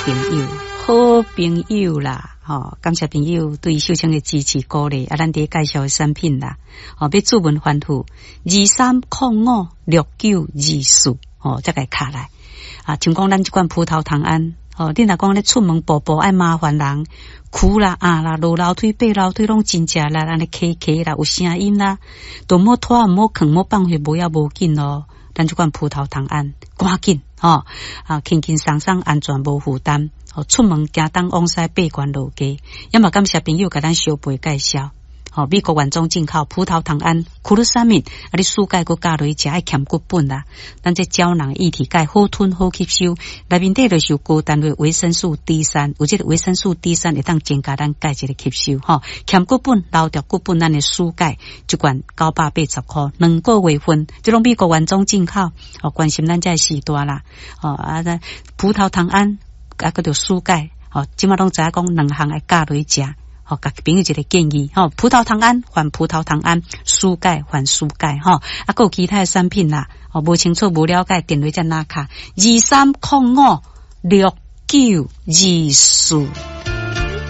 朋友，好朋友啦，吼，感謝朋友對秀清的支持鼓勵，啊，咱佇介紹的產品啦，吼，欲注文番號23056924，吼，才共敲來。啊，像講咱這款葡萄糖胺，吼，你若講咧出門步步愛麻煩人，跍啦、壓啦、落樓梯、爬樓梯攏真食力，按呢磕磕啦，有聲音啦，都毋好拖，毋好囥，毋好放予無要無緊咯。咱這款葡萄糖胺，趕緊吼，啊，輕輕鬆鬆，安全無負擔，吼，出門行東往西爬懸落低，也嘛感謝朋友共咱相陪介紹。吼，美國原裝進口葡萄糖胺、glucosamine，啊，你舒鈣閣加落去食愛兼骨本啦。咱這膠囊液體鈣好吞好吸收，內面底就是有高單位維生素 D 三，有這個維生素 D 三會當增加咱鈣質的吸收。吼，兼骨本留著骨本，咱的舒鈣一罐980箍，2個月份，這攏美國原裝進口。哦，關心咱這時代啦。哦，啊，葡萄糖胺啊，閣著舒鈣，吼，這馬攏知影講兩項愛加落去食。吼，共朋友一個建議，吼，葡萄糖胺換葡萄糖胺，舒鈣換舒鈣，吼，啊，閣有其他的產品啦，吼，無清楚無了解，電話才拿卡23056924。